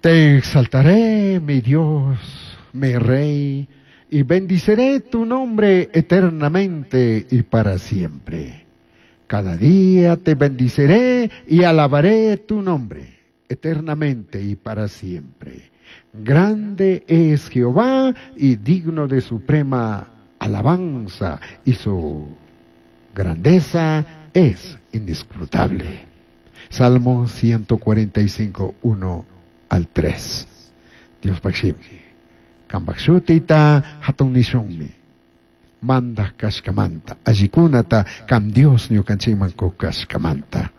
Te exaltaré, mi Dios, mi Rey, y bendiceré tu nombre eternamente y para siempre. Cada día te bendiceré y alabaré tu nombre eternamente y para siempre. Grande es Jehová y digno de suprema alabanza, y su grandeza es indiscrutable. Salmo 145, 1 al 3. Dios shimi. Cambaj shutita hatun nishunmi. Mandaj kashkamanta. Allikunata kam Dios ñukanchikman kashkamanta.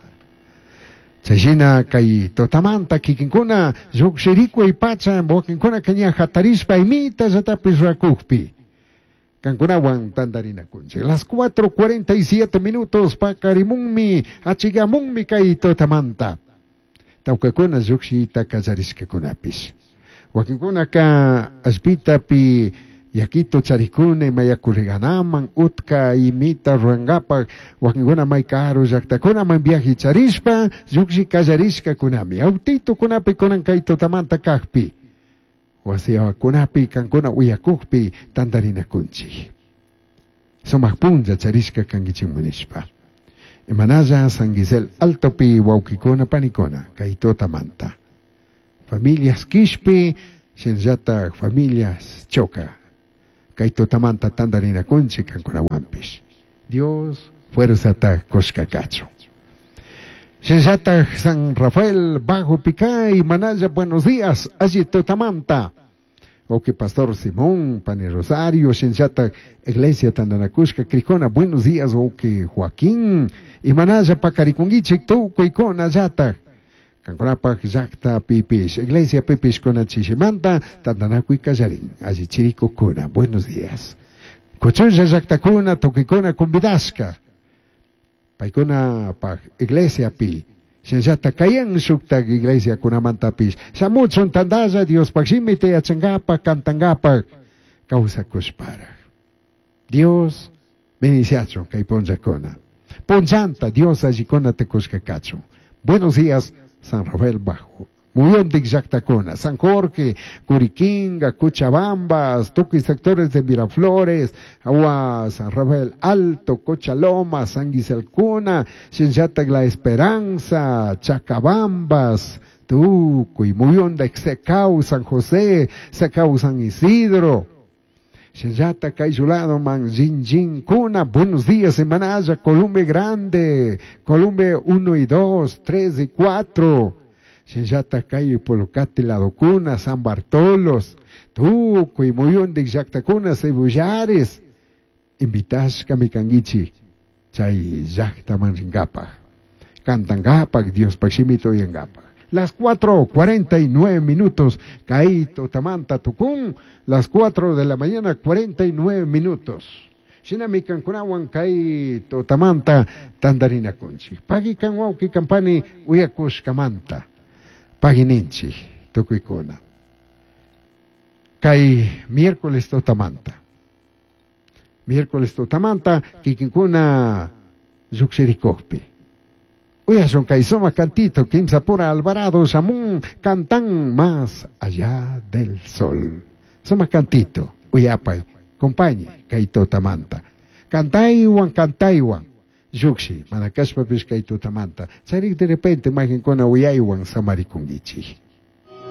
Chayshina kay tutamanta kikinkuna llukshirikuy pacha wakinkuna ña hatarishpa imita llatapish rurakukpi. Kankunawan tantarinakunchik. Las 4:47 minutos pakarimunmi achigamunmi kay tutamanta. Tawkakuna llukshiyta kallarishkakunapish. Wakinkunaka allpitapi yakito charikuna ima yakuriganaman utka imita rurankapak wakinkuna may karu llaktakunaman viaje charishpa llukshi kallarishkakunami. Autitukunapi kunan kay tutamanta kakpi. Wasiakunapi kankuna uyakukpi tantarinakunchik. Sumak punlla charishka kankichikman nishpa. Imanalla San Gisel Altopi wawkikuna panikuna kay tutamanta. Familias Quishpi, shinallatak familias Choca. Kay tutamanta tantarinakunchik kankunawanpish. Dios fuerzata kushka kachun. Shinallatak San Rafael Bajo Picay, Manaya, buenos días, allí tutamanta. Ok, Pastor Simón, Pani Rosario, shinallatak Iglesia Tandanakushka, Cricona, buenos días, ok, Joaquín, Imanaya pakarikunguichik, tukuykuna llatak. Kankunapak llakta pipish, Iglesia pipish kuna chishimanta, tandanakuy kallarin, alli chirikukuna, buenos días. Kuchulla llaktakuna, tukuykuna convidashka. Paykuna pak iglesia pi. Shinallata kayan shuktak iglesia kunamantapish. Shamuchun tandalla Diospak shimita yachankapak, kantankapak, kawsakushparaj. Dios bendiciachun kay punllakuna. Punllanta Dios allikuna tukushka kachun. Buenos días, San Rafael Bajo. Muyondik llaktakuna, San Jorge, Curiquinga, Cochabambas, tukuy sectores de Miraflores, Agua, San Rafael Alto, Cochaloma, San Guiselcuna, Shinllatak La Esperanza, Chacabambas, Tucuy, Muyondik, Secau, San José, Secau, San Isidro. Shinllata Kayulado, Man, Cuna, buenos días, Emanaya, Columbe Grande, Columbe 1 y 2, 3 y 4. Shinllata Cayo Polocate, Ladocuna, San Bartolos, Tucuy, Muyondik, Llaktakuna, Cebullares. Invitashka mikanguichi, chay llaktaman rinkapak. Cantangapak, Dios shimita uyangapak. Las 4:49 minutos, Caito, Tamanta, Tucún, las 4 de la mañana, 49 minutos. Shinami kankunawan kay tutamanta tantarinakunchik. Pagui kan wawki kan pani uyakushkamanta. Pagui ninchik, tukuykuna. Kay miércoles tutamanta. Miércoles tutamanta, kikinkuna llukshirikukpi. Uyashun kay sumak cantito, Kimsapura Alvarado, Shamun, cantan más allá del sol. Sumak cantito, uyapay, compañe, kay tutamanta. Cantaywan, cantaywan. Llukshi, mana kashpapish kay tutamanta. Charik de repente mayqinkuna uyaywan samarikunkichik.